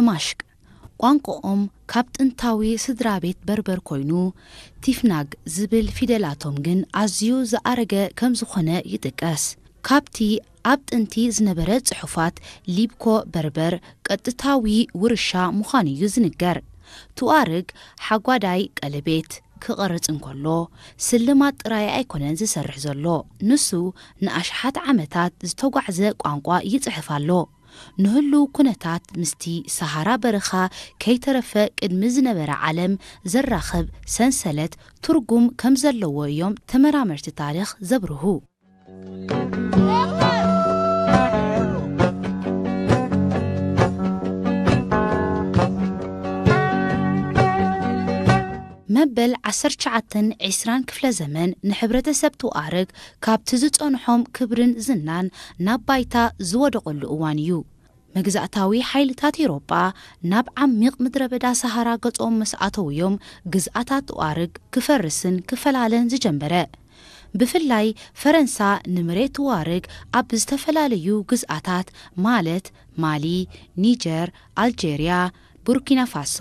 እማሽቅ ቋንቋኦም ካብ ጥንታዊ ስድራ ቤት በርበር ኮይኑ፣ ቲፍናግ ዝብል ፊደላቶም ግን ኣዝዩ ዝኣረገ ከም ዝኾነ ይጥቀስ። ካብቲ ኣብ ጥንቲ ዝነበረ ጽሑፋት፣ ሊብኮ በርበር ቀጥታዊ ውርሻ ምዃኑ እዩ ዝንገር። ቱኣርግ ሓጓዳይ ቀለቤት ክቐርጽ እንከሎ፣ ስልማት ጥራይ ኣይኮነን ዝሰርሕ ዘሎ። ንሱ ንኣሽሓት ዓመታት ዝተጓዕዘ ቋንቋ ይጽሕፍ ኣሎ። ንህሉው ኩነታት ምስቲ ሰሃራ በረኻ ከይተረፈ ቅድሚ ዝነበረ ዓለም ዘራኽብ ሰንሰለት ትርጉም ከም ዘለዎ እዮም ተመራመርቲ ታሪኽ ዘብርሁ። መበል ዓሰርተ ትሽዓተን ዕስራን ክፍለ ዘመን ንሕብረተሰብ ቱኣረግ ካብቲ ዝጸንሖም ክብርን ዝናን ናብ ባይታ ዝወደቐሉ እዋን እዩ። መግዛእታዊ ሓይልታት ኤውሮጳ ናብ ዓሚቕ ምድረ በዳ ሰሃራ ገጾም ምስ ኣተውዮም፣ ግዝኣታት ቱኣረግ ክፈርስን ክፈላለን ዝጀመረ። ብፍላይ ፈረንሳ ንመሬት ቱዋርግ ኣብ ዝተፈላለዩ ግዝኣታት፣ ማለት ማሊ፣ ኒጀር፣ ኣልጀርያ፣ ቡርኪና ፋሶ፣